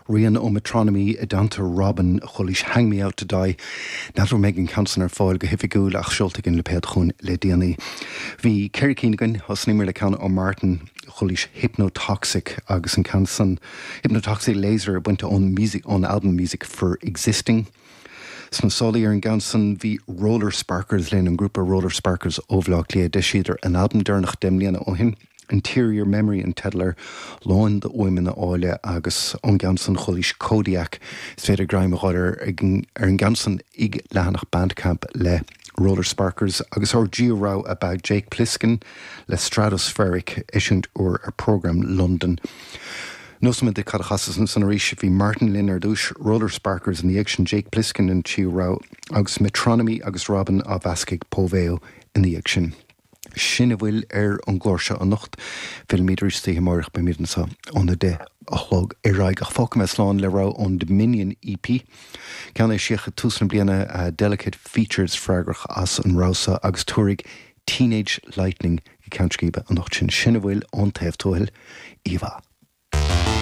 Rian ó Metronomy i dteannta Robyn, chualaís Hang Me Out To Die. N'fheadar an mbeidh an ceann san ar fáil go hoifigiúil ach seolta ag an lipéad chugainn le déanaí. Bhí 4 cinn againn, thosnaíomar le ceann ó Martin, chualaís Hypnotoxic agus an ceann san, Hypnotoxic Laser bainte ón music, ón albam Music For Existing. Sna sálaí ar an gceann san bhí Roller Sparkers linn, an grúpa Roller Sparkers ó Bhaile Átha Cliath. D'eisíodar a n-albam deireanach 10 mbliana ó shin, Interior Memory an teideal air, lán d'fhuaimeanna áille agus ón gceann san chualaís Kodiak. Is féidir greim a fháil ar ar an gceann san ag leathanach Bandcamp le Roller Sparkers agus ár dtríú rogha ab ea Jake Pliskin le Stratospheric, eisiúint úr ar Programme London. Neosfaidh mé duit cad a chasas ansan arís. Bhí Martin linn ar dtúis, Roller Sparkers ina dhiaidh sin, Jake Pliskin an tríú rogha, agus Metronomy agus Robyn á mheascadh ag Poveo ina dhiaidh sin. Sin a bhfuil ar an gclár seo anocht. Fillfimid arís istoíche amáireach, beimid anseo óna 10 a chlog ar aghaidh. Ach fágfaidh mé slán le rogha ón Dominion EP, ceann a eisíodh ag tús na bliana, Delicate Features freagrach as an rogha seo agus tabharfaidh Teenage Lightning go ceann scríbe anocht sinn. Sin a bhfuil ón taobh tuathail. Oíche mhaith.